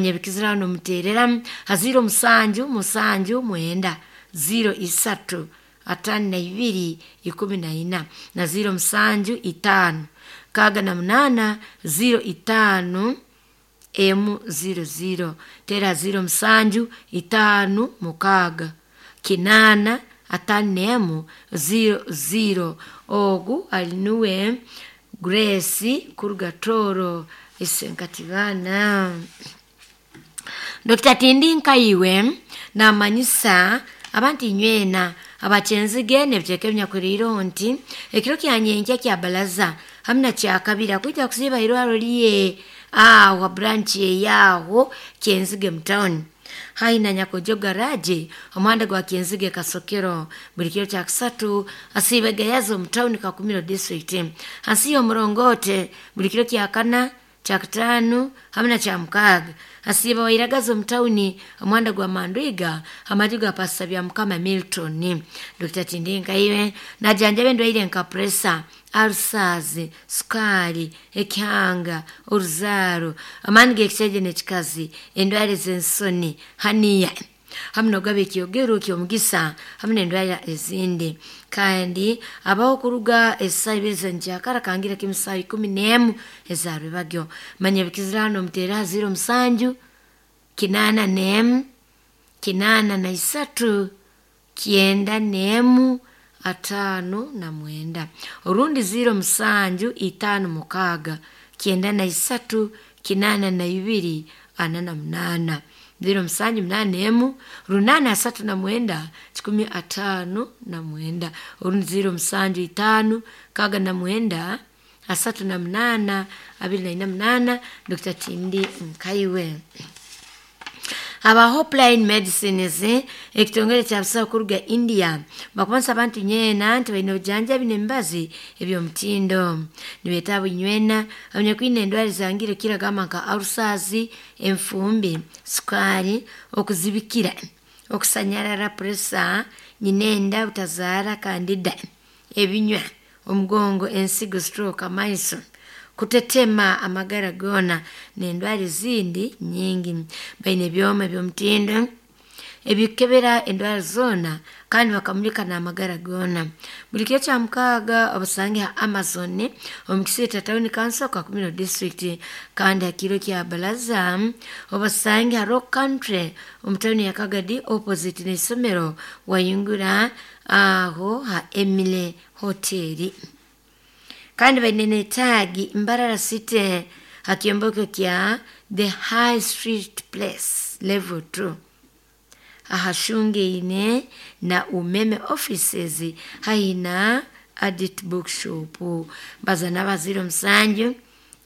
Nyebikizirano muteereramu ha 07 7 9 03 52 14 na 07 5 68 05 emu 00 tera 07 5 6 8 51 00. Ogu ali nuwe Grace kuruga Toro isenkatibana. Dr. Tindi Nkaiwe namanyisa abantu inywena abakyenzige nebiteeka ebinyakuliireho nti ekiro kyanyenkya kya balaza hamu na kyakabiri akwija kusiiba irwaro lye aho ha branch eyaho Kyenzige mu town haihi na Nyakojo garage omuhanda gwa Kyenzige Kasokero. Buli kiro kyakusatu asiiba Gayaza omu town Kakumiro district hansi y'omurongote. Buli kiro kyakana, kyakutaano hamu na kyamukaaga asiiba Wairagaza omu tawuni omuhanda gwa Mandwiga amaju ga Pastor Byamukama Milton. Dr. Tindi Nkaiwe najanjaba endwaire nka pressure, ulcers, sukaali, ekihanga, oruzaaro, amaani g'ekishaija n'ekikazi, endwara ez'ensoni, haniya hamu n'okugaba ekyogero ky'omugisa hamu n'endwara ezindi. Kandi abaho kuruga esaaha ibiri z'enkyakara kangira kimu saaha 11 eza rwebagyo. Manya ebikizirano muteere ha 07 81 83 91 59 orundi 07 56 93 82 48 07 81 839 159 orundi 07 5 69 38 28. Dr. Tindi Nkaiwe. Aba Hopeline Medicines, ekitongole kya busaho kuruga India, bakubanisa abantu nyeena nti baine obujanjabi n'emibazi eby'omutindo. Nibeeta abunywena abanyakwine endwara ezangire kukira gamba nka ulcers, enfumbi, sukaali, okuzibikira, okusanyarara, pressure, nyinenda, butazaara, kandida, ebinywa, omugongo, ensigo, stroke, amaiso kutetema, amagara goona n'endwara ezindi nyingi. Baine ebyoma eby'omutindo ebikukebera endwara zoona kandi bakamulika n'amagara goona. Buli kiro kyamukaaga obasange ha Amazon omu Kisiita Town Council, Kakumiro district. Kandi ha kiro kya Balaza obasange ha Rock Country omu tawuni ya Kagadi opposite n'isomero wayingura aho ha Emile Hotel. Kandi baine n'etaagi Mbarara City ha kyombeko kya The High Street Place level 2 ahashungaine na Umeme offices haihi na Adit Bookshop. Baza naba 07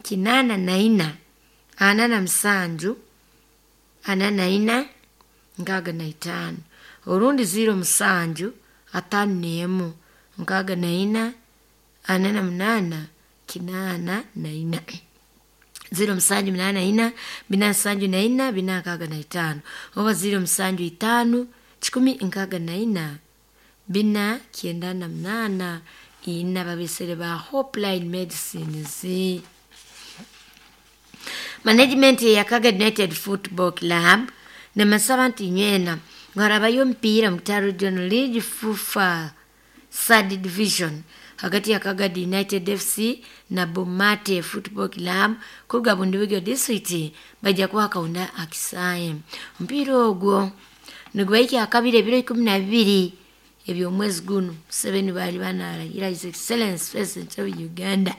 84 47 44 65 orundi 07 51 64 48 84 07 84 74 465 oba 07 5 164 498 ina babesere ba Hopeline Medicines. Management ya Kagadi United Football Club nemasaba nti nywena ngarabayo omupiira mu Kitara Regional League FUFA third division hagati ya Kagadi United FC na Bomate Football Club kuruga Bundibugyo district bajja kuba kaunda akisaaye. Omupiira ogwo nigubaikya akabiri ebiro 12 eby'omwezi guno Museveni baali banarahira His Excellency President of Uganda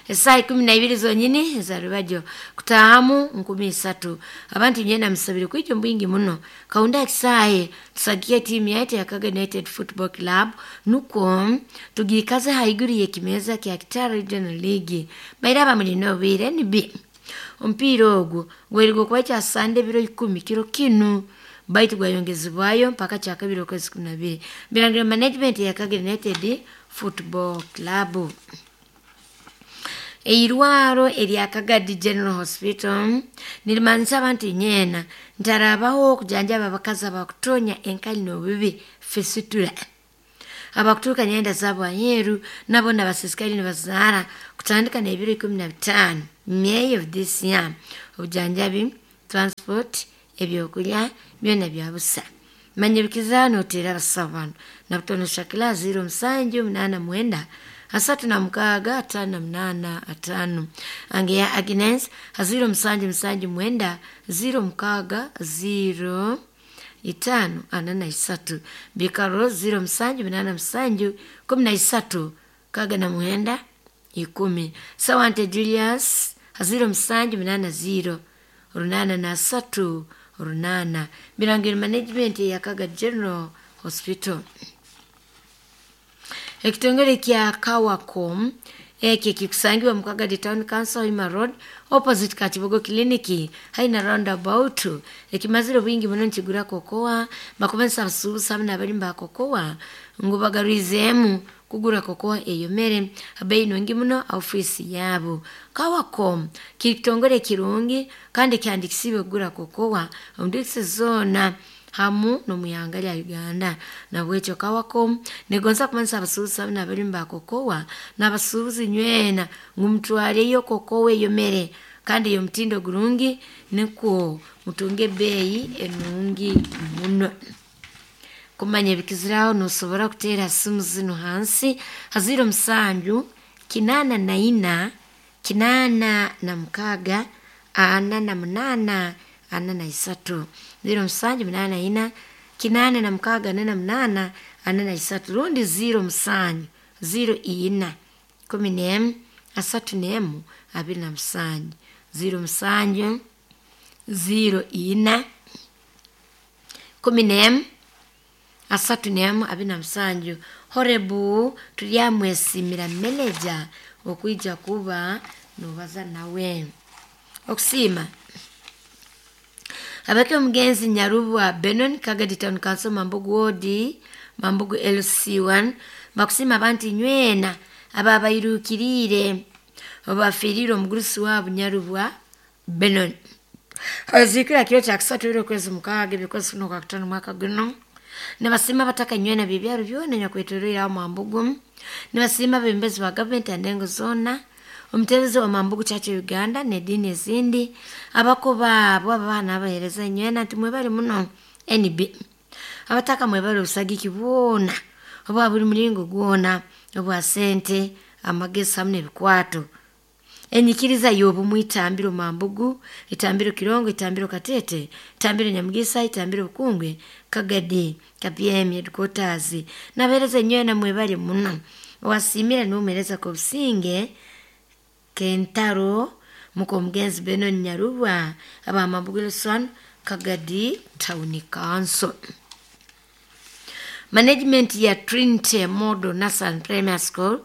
esaaha 12 zonyini eza rwebagyo kutaahamu 3000. Abantu nywena musabire kwija omu bwingi muno kaunda akisaaye tusagike tiimu yaitu ya Kagadi United Football Club nukwo tugiikaze haiguru y'ekimeeza kya Kitara Regional League. Baire abamulina obwire NB omupiira ogwo gwerirwe okuba kya Sande ebiro 10 kiro kinu baitu gwayongezebwayo mpaka kyakabiri okwezi 12. Birangiro management ya Kagadi United Football Club. Eirwaro erya Kagadi General Hospital nirimanisa abantu nyeena nti harabaho okujanjaba abakazi abakutonya enkali n'obubi fistula, abakuturuka nyenda zaabo aheeru nabo nabasiisikare nibazaara kutandika n'ebiro 15 May of this year. Obujanjabi Transport, ebyokulya byona bya busa. Manya ebikizaano oteera abasawo bano Nabutono Shakila 0789 36 58 5. Angeya Agnes 0779 06 0 5 43. Bikaro 0787 13 69 10. Sawante Julius 0780 83 8. Birangiro Management ya Kaga General Hospital. Ekitongole kya Kawacom eki kikusangiwa Mukagadi Town Council, Hima Road, opposite Kachibogo Clinic, haina roundabout. Ekimazire bwingi muno nkigura kokoa bakubanisa abasuubuzi hamwe n'abalimi ba kokoa ngu bagarwizeemu kugura kokoa eyomere abeyi nungi muno ofiisi yaabo. Kawacom kiri kitongole kirungi kandi kyandikisiibwe kugura kokoa omu disitulikiti zoona hamu n'omwihanga lya Uganda. Nabwekyo Kawacom negonza kumanyisa abasuubuzi hamwe n'abalimi ba kokoa n'abasuubuzi nywena ngu mutwareyo kokoa eyomere kandi ey'omutindo gurungi nikwo mutunge ebeeyi enungi muno. Kumanya ebikiziraho nosobora kuteera simu zinu hansi ha 07 84 86 48 43. 0784 86 48 43 rundi 07 04 11 31 27. 07 04 11 31 27. Horebu turyamwesimira meneja okwija kuba nobaza nawe. Okusiima abake omugenzi Nyarubwa Benon, Kagadi Town Council, Mambugu Ward, Mambugu LC1, bakusiima abantu nywena ababairukiriire obafiirire omugurusi waabo Nyarubwa Benon. Aziikira kiro kya kusatu era okwezi mukaaga ebyokwezi kuno kwa kutaano mwaka guno. Nibasiima abataka nywena b'ebyaro byona nyakwetoroire aho Mambugu. Nibasiima abebembezi ba gavumenti andengo zoona, omuteerezi wa Mambugu Church of Uganda n'ediini ezindi, abako baabo abaana abaheereza nywena nti mwebale muno NB. Abataka mwebale obusagiki bwona obwa buli mulingo gwona obwa sente, amagezi hamu n'ebikwato. Enyikiriza y'obumu itambiro Mambugu, itambiro Kirongo, itambiro Katete, itambiro Nyamugisa, itambiro Bukungwe, Kagadi, KPM headquarters. Nabeereza nywena mwebale muno. Owasiimira n'omuheereza Kobusinge Kentaro muka omugenzi Benon Nyarubwa aba Mambugu Wilson, Kagadi Town Council. Management ya Trinity Model Nursery Primary School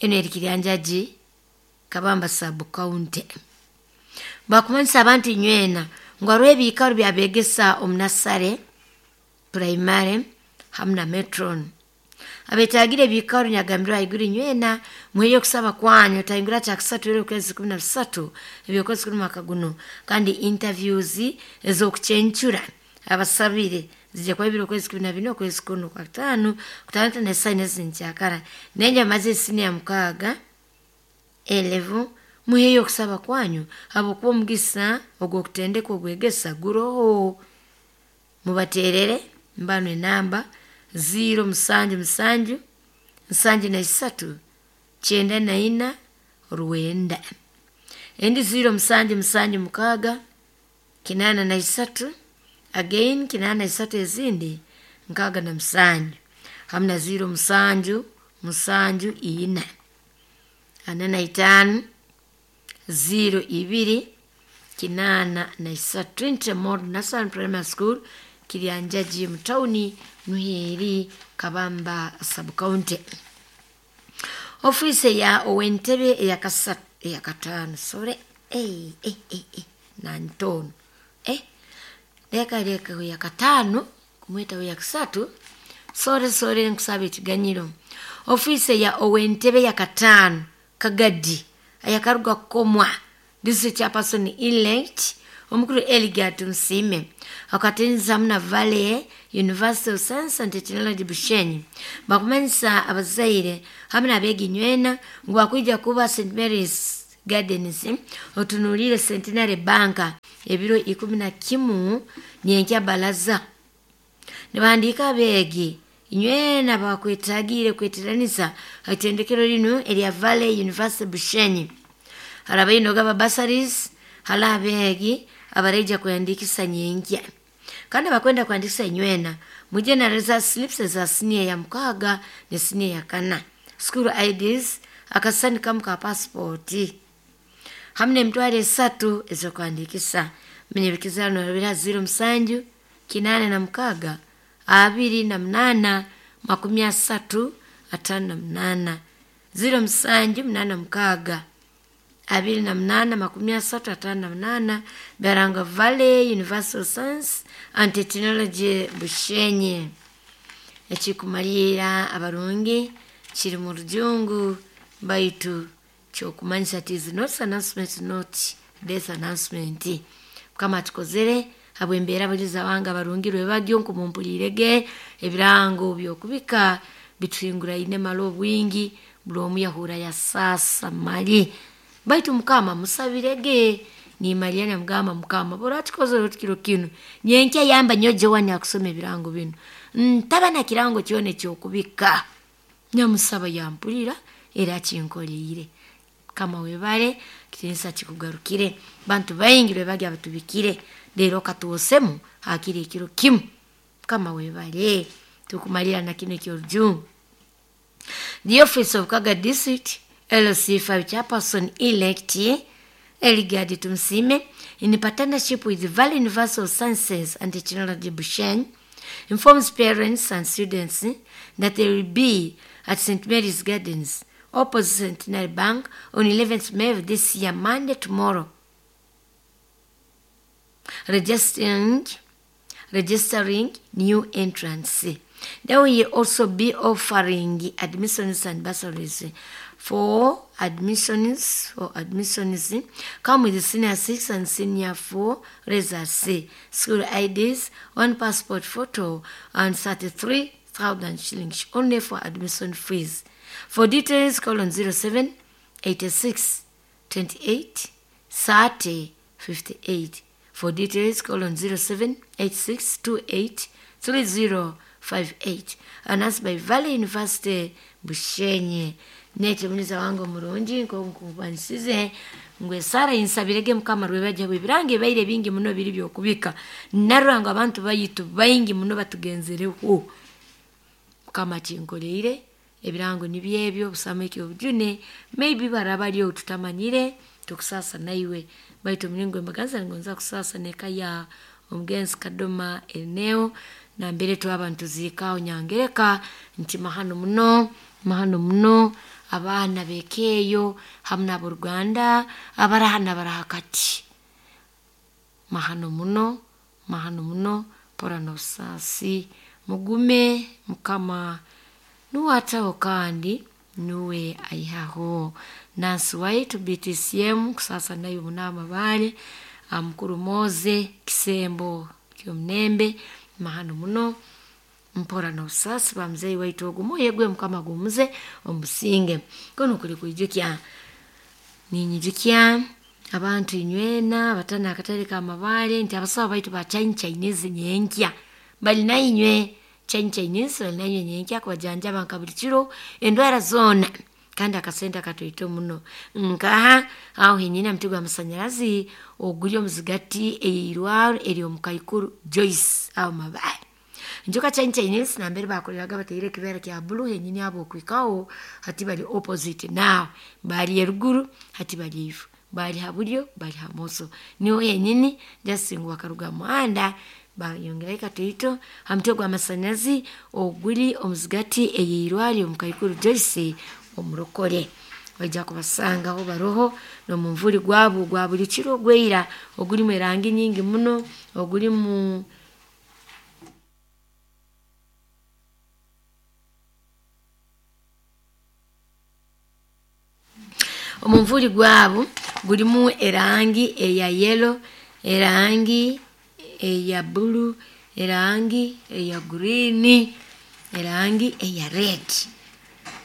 eno eri Kiryanjagi, Kabamba Sub County. Bakumanyisa abantu nywena ngu hariho ebiikaro byabegesa omu nasare, primary hamu na metron. Abetagire ebiikaro nyagambirwe haiguru nywena muheyo okusaba kwanyu otahingura kyakusatu era okwezi 13 ebyokwezi kunu mwaka guno. Kandi interviews ez'okucencura abasabire zijja kuba ebiro okwezi 14 okwezi kuno kwa kutaano kutandika n'esaaha ezinkyakara nenja maze esiniya 6 11 muheyo okusaba kwanyu habwokuba omugisa ogw'okutendeka ogwegesa guroho. Mubateerere mbanu enamba 077 73 94 9. Endi 0776 83 again 83 ezindi 67 hamu na 07 74 45 02 83. Trinity Model Nursery Primary School, Kiryanjagi mu tawuni Nuheri, Kabamba Sub County. Ofiisi ya ow'entebe eyakasatu eyakataano sore nantono leka leka yakataano kumweta yakasatu sore sore nkusaba ekiganyiro. Ofiisi ya ow'entebe yakataano Kagadi ayakaruga kukomwa district chairperson elect omukuru Eligat Musiime akatenzamu na Valley University of Science and Technology Bushenyi bakumanyisa abazaire hamwe n'abeegi nywena ngu bakwija kuba St Mary's Gardens otunuulire Centenary Bank ebiro 11 nyenkya balaza. Nibahandiika abeegi inywena bakwetagiire kweteraniza ha itendekero linu erya Valley University Bushenyi. Hari abaine ogaba bursaries, hali abeegi abaraija kwehandiikisa nyenkya. Kandi abakwenda kuhandikisa inywena muje na result slips eza siniya ya 6 ne siniya ya 4, school IDs, akasisani kamu ka passport hamu n'emitwaro 3 ez'okuhandiikisa. Munyebikiza norabira 07 86 28 30 58 07 86 28 30 58 Baranga Valley University of Science and Technology Bushenyi. Ekikumalira abarungi kiri mu rujungu baitu kyokumanyisa ati is not announcement not death announcement. Mukama atukozere habw'embeera abajuzi abange abarungi rwebagyo nkumumpulirege ebirango by'okubika bituhinguraine mali obwingi buli omu yahura yasaasa mali baitu Mukama musabirege nimalira namugamba Mukama bora tukozere oti kiro kinu nyenkya yamba nyowe Joan akusoma ebirango binu ntaba na kirango kyona ekyokubika nyamusaba yampulira era akinkoleire. Mukama webale kitiinisa kikugarukire bantu baingi rwebagyo abatubikire leero katuwosemu hakiri ekiro kimu. Mukama webale tukumalira na kinu eky'orujungu. The office of Kaga District LC5 chairperson elect Eligard Tumsime in partnership with the Valley University of Sciences and Technology Bushenyi informs parents and students that they will be at St. Mary's Gardens opposite Centenary Bank on 11th May of this year, Monday, tomorrow. Registering new entrants. They will also be offering admissions and bursaries. For admissions come with senior 6 and senior 4 results, school IDs, one passport photo, and 33,000 shillings only for admission fees. For details, call on 07 86 28 30 58. For details, call on 07 86 28 30 58. Announced by Valley University Bushenyi. Nete muniza wange omurungi nkokubanisize ngu esara insabirege Mukama rwebajja ebirango ebaire bingi muno biri byokubika narora ngu abantu bayitu baingi muno batugenzereho. Mukama kinkoleire ebirango nibyebyo busama ekyobujune maybe barabaliyo tutamanyire tukusasa naiwe baitu mulingo embaganza ngonza kusasa neka ya omugenzi Kadoma eneo nambere twaba ntuziikaaho nyangereka nti mahano muno abaana bekeeyo hamu n'aboruganda abaraha n'abarahakati mahano muno mpora n'obusaasi mugume Mukama nuwe ataho kandi nuwe aihaho. Nansi waitu BTCM kusasa nayo munaama baale mukuru Moze kisembo ky'omunembe mahano muno mpora n'obusaasi bwa muzeeyi waitu ogu omwoyo gwe Mukama gumuze omusinge. Kunu kuli kwijukya ninyijukya abantu inywena abatana akatale k'amabaale nti abasawo baitu ba Chinese nyenkya bali nainywe Chinese bali nainywe nyenkya kubajanjaba nka buli kiro endwara zoona kandi akasente akatoito muno nkaha aho henyini ha muti gw'amasanyarazi oguri omuzigati eirwaro eri omu Kaikuru Joyce aho Mabaare. Njoka Chinese nambere bakoreraga bataire ekibeera kya blue henyini abo okwikaho hati bali opposite now bali eruguru hati bali ifu bali ha bulyo bali ha moso niho henyini just ngu bakaruga muhanda bayongerayo katoito ha mutwe gw'amasanyarazi oguri omuzigati ey'eirwaro omu Kaikuru Joyce omurokore. Baija kubasangaho baroho n'omunvuri gwabo gwa buli kiro ogweira ogurimu erangi nyingi muno ogurimu omunvuri gwabo gurimu erangi eya yellow, erangi eya blue, erangi eya green, erangi eya red.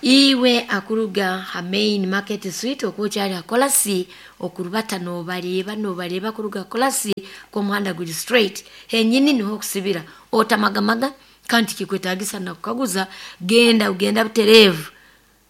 Iwe akuruga ha main market street okukyali akolasi okurubata nobareba nobareba kuruga kolasi kwomuhanda guli straight henyini niho okusibira otamagamaga kandi kikwetagisa nakukaguza genda ugenda butereevu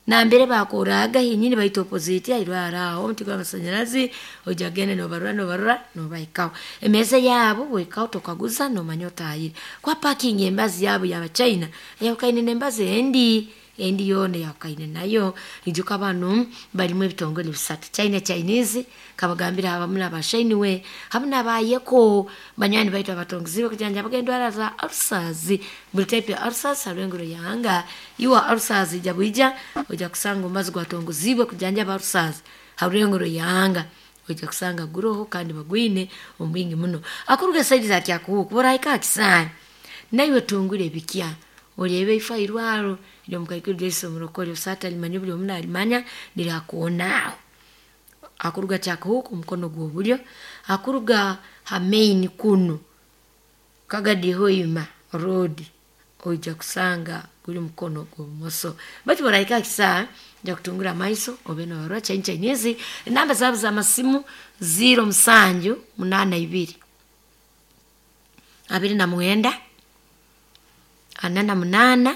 nambere bakoraga henyini baita opposite airwara aho omuti gw'amasanyarazi ojja genda nobarora nobarora nobahikaho emeeza yaabo wekaho tokaguza nomanya otahire kwa parking embazi yaabo yabachina eyawukaine n'embazi endi endi yoona eyawukaine nayo. Ijuka banu barimu ebitongole bisatu China Chinese kabagambira abamu n'abashainiwe hamu n'abayeko banywani baitu abatongiziibwe kujanjabaga endwara za ulcers buli type ya ulcers hariho enguro yahanga iwe ulcers ija bwija ojja kusanga omubazi gwatongoziibwe kujanjaba ulcers hariho enguro yahanga ojja kusanga guroho kandi bagwine omu bwingi muno. Akuruga saidi za Kyakuhuku borahika aha kisaani naiwe tungura ebikya oreebe ife airwaro ry'omukaikuru Joyce Omurokore osaata alimanya buli omu nalimanya lirakoonaaho. Akuruga Kyakuhuku omukono gw'obulyo, akuruga ha main kunu Kagadi Hoima road oija kusanga guli mukono gw'obumoso. Baitu borahika aha kisaani ojja kutungura amaiso obe nobarora China Chinese enamba zaabo z'amasimu 07 82 29 48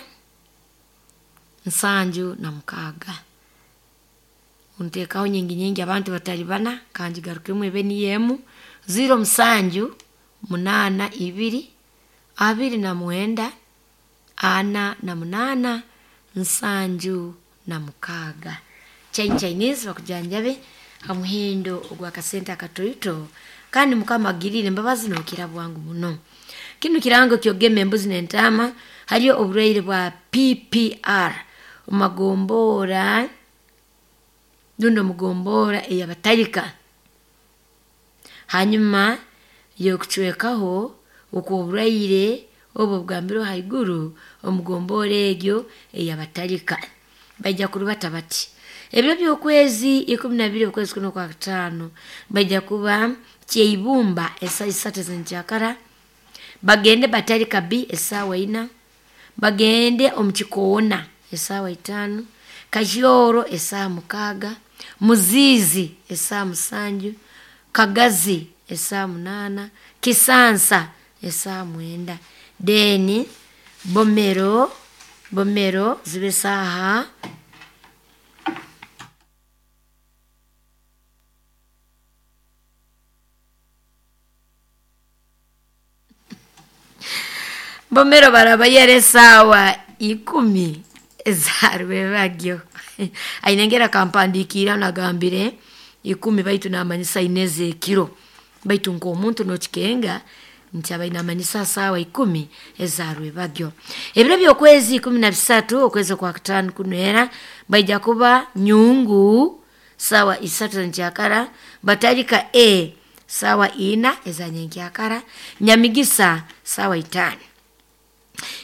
76. Nteekaho nyingi nyingi abantu batali bana kangigarukemu ebe niyo emu 07 82 29 48 76. China Chinese bakujanjabe ha muhendo ogw'akasente akatoito kandi Mukama agiriire embabazi nookira bwangu muno. Kinu kirango ky'okugema embuzi n'entaama hariyo oburwaire bwa PPR omu rundi omugombora ey'abatalika. Hanyuma y'okucwekaho okw'oburwaire obu obugambirwe haiguru omugombora egyo ey'abatalika. Baija kurubata bati ebiro by'okwezi 12 okwezi kuno okwa kataano baija kuba Kyeibumba esaaha isatu ez'enkyakara, bagende Batalika B esaawa ina, bagende omu Kikoona esaawa itaano, Kahyoro esaaha mukaaga, Muziizi esaaha musanju, Kagazi esaaha munaana, Kisansa esaaha mwenda, then Bomero Bomero zibe esaaha Bomero barabayera esaawa 10 eza rwebagyo. Aine engeri akampandiikira nagambire 10 baitu namanyisa ina ez'ekiro baitu nk'omuntu nokikenga nti abaire namanyisa saawa 10 eza rwebagyo. Ebiro by'okwezi 13 okwezi okwa kataano kunu era baija kuba Nyungu saawa isatu ez'enkyakara, Batalika A saawa ina eza nyenkyakara, Nyamigisa saawa itaano.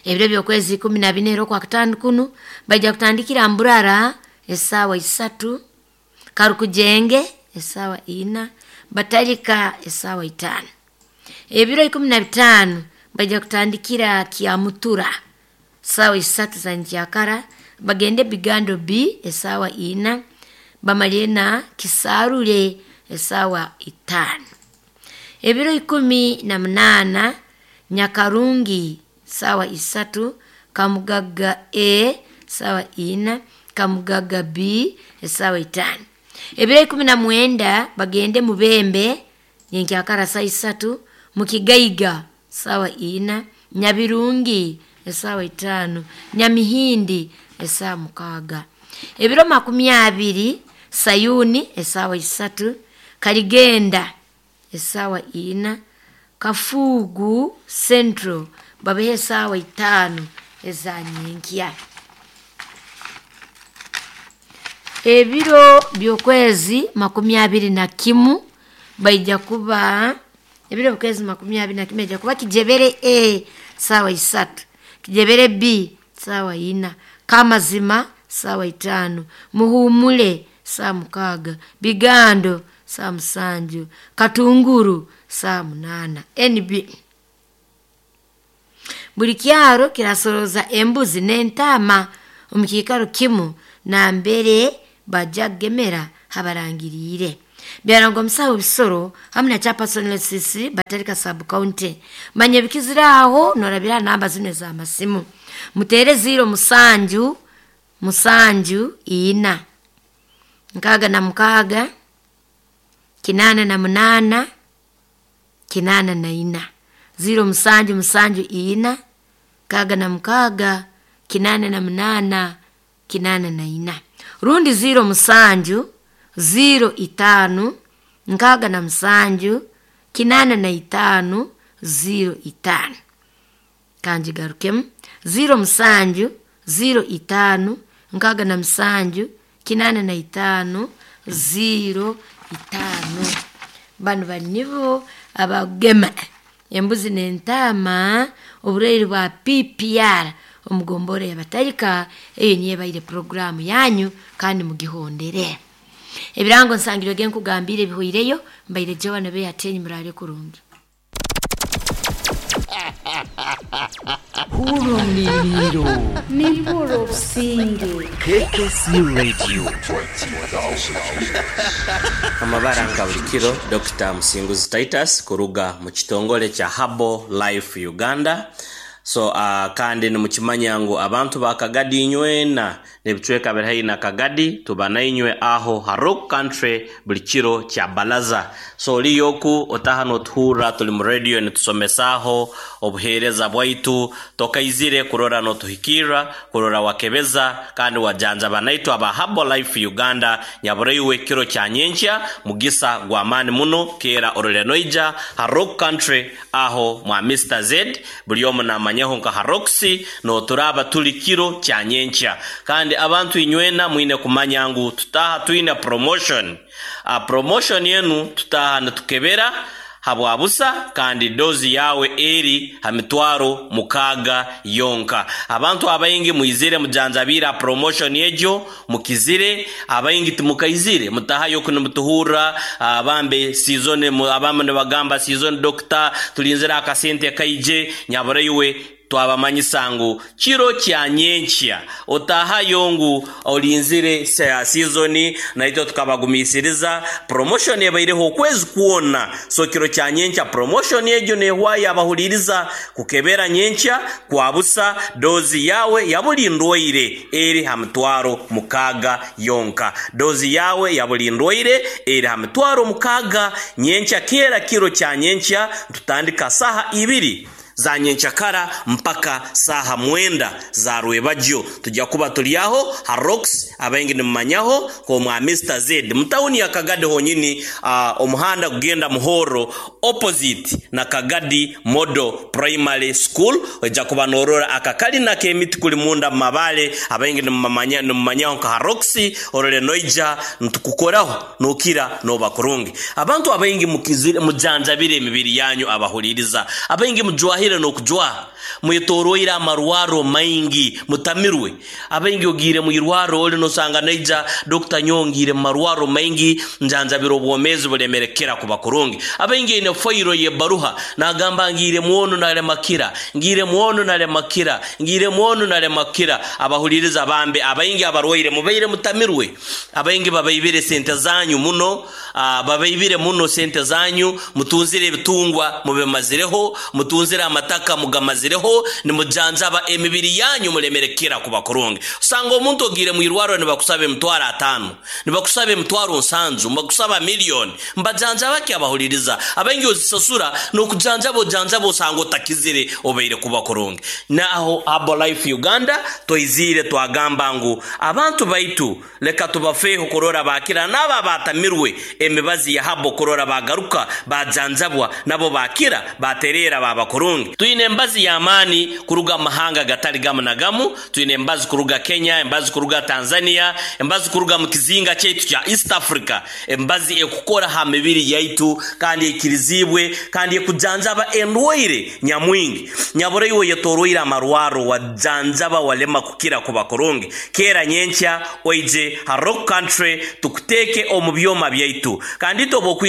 Ebiro by'okwezi 14 era okwa kataano kunu baija kutandikira Mburara esaawa isatu, Karukujenge esaawa ina, Batalika esaawa itaano. Ebiro 15 baija kutandikira Kyamutura saawa isatu za nkyakara, bagende Bigando B esaawa ina, bamalire na Kisarure esaawa itaano. Ebiro 18 Nyakarungi saawa isatu, Kamugaga A saawa ina, Kamugaga B esaawa itaano. Ebiro 19 bagende Mubembe nyenkyakara saawa isatu, Mukigaiga saawa ina, Nyabirungi esaawa itaano, Nyamihindi esaawa mukaaga. Ebiro 20 Sayuni esaawa isatu, Kaligenda esaawa ina, Kafuugu Central babeho esaawa itaano eza nyenkya. Ebiro by'okwezi 21 baija kuba ebiro by'okwezi 21 baija kuba Kijebere A saawa isatu, Kijebere B saawa ina, Kamazima saawa itaano, Muhuumule saawa mukaaga, Bigando saawa musanju, Katunguru saawa munaana. NB buli kyaro kirasoroza embuzi n'entaama. Omu kiikaro kimu nambere bajja kugemera habarangiriire. Byarangwa omusaho bisoro hamu na chairperson LCC Batarika sub county. Manya ebikizire aho norabira namba zino ez'amasimu. Muteere 07 7 4 66 88 84 07 7 4 66 88 84 rundi 07 05 67 85 05. Kanjigarukemu 07 05 67 85 05. Banu bali nibo abagema embuzi n'entaama oburwaire bwa PPR omugombora yabatarika. Eyo niyo ebaire puroguramu yanyu kandi mugihondere. Ebirango nsangirwe genkugambire bihoireyo mbaire Joan Beatenyi murale kurungi. Hurumniriro Niburo businge KKC Radio. Amabara nka buli kiro, Dr. Musinguzi Titus kuruga mu kitongole kya Herbal Life Uganda. So kandi nimukimanya ngu abantu ba Kagadi inywena n'ebicweka biri haihi na Kagadi tuba nainywe aho Harok Country buli kiro kya balaza. So oliyoku otaha notuhurra tuli mu radio nitusomesaho obuheereza bwaitu, tokaizire kurora notuhikirra kurora wakebeza kandi wajanjaba naitu aba Herbal Life Uganda. Nyabureiwe kiro kya nyenkya mugisa gwa maani muno kera orole noija Harok Country aho mwa Mr Z buli omu namanyaho nka Haroxy noturaba tuli kiro kya nyenkya. Kandi abantu inywena mwine kumanya ngu tutaha twine promotion. Promotion yenu tutaha nitukebera habwabusa kandi dozi yawe eri ha mitwaro 6 yonka. Abantu abaingi muizire mujanjabira promotion ejo mukizire, abaingi timukaizire mutahayo kunimutuhura. Abambe season abamwe nibagamba season doctor tulinzira akasente kaije. Nyabureiwe twabamanyisa ngu kiro kya nyenkya otahayo ngu olinzire season naitwe tukabagumisiriza promotion ebaireho okwezi kwona. So kiro kya nyenkya promotion egyo nehwayo abahuliriza kukebera nyenkya kwabusa dozi yawe ya buli ndwaire eri ha mitwaro 6 yonka. Dozi yawe ya buli ndwaire eri ha mitwaro 6 nyenkya. Kera kiro kya nyenkya tutandika saha 2 za nyenchakara mpaka saha 9 za rwebagyo. Tujja kuba tuli aho Harox abaingi nimumanyaho ko mwa Mr Z mutauni ya Kagadi honyini, omuhanda kugenda Muhoro opposite na Kagadi Model Primary School. Ojja kuba norora akakali na kemiti kuli munda mabale abaingi nimumanyaho nka Harox orole noija ntukukoraho nokira noba kurungi. Abantu abaingi mukizire mujanjabire emibiri yanyu abahuliriza abaingi mujwahire nokujwa mwetoroire amarwaro maingi mutamirwe. Abaingi ogire mwirwaro oli nosanga naija Dr. Nyongire marwaro maingi njanjabiro obwomezi bulemerekera kuba kurungi. Abaingi ine foiro ye baruha nagamba ngire muono nale makira ngire muono nale makira ngire muono nale makira. Abahuliriza bambe abaingi abarwaire mubeire mutamirwe. Abaingi babaibire sente zanyu muno, babaibire muno sente zanyu, mutunzire ebitungwa mubemazireho, mutunzire amataka mugamazireho, nimujanjaba emibiri yanyu mulemerekera kuba kurungi. Usanga omuntu ogire mwirwaro nibakusaba emitwaro 5, nibakusaba emitwaro 7, nibakusaba miliyoni. Mbajanjaba ki abahuliriza? Abaingi ozisasura nokujanjaba ojanjaba osanga otakizire obeire kuba kurungi. Naho Herbal Life Uganda toizire twagamba ngu abantu baitu leka tubafeho kurora bakira naba batamirwe emibazi ya habo kurora bagaruka bajanjabwa nabo bakira baterera baba kurungi. Tuine embazi ya amani kuruga mahanga gatali gamu na gamu, tuine embazi kuruga Kenya, embazi kuruga Tanzania, embazi kuruga mu kizinga kyaitu kya East Africa, embazi ekukora ha mibiri yaitu kandi ekirizibwe kandi ekujanjaba endwaire nyamwingi. Nyabureiwe yetoroire amarwaro wajanjaba walema kukira kuba kurungi. Kera nyenkya oije ha Rock Country tukuteke omu byoma byaitu kandi tobo.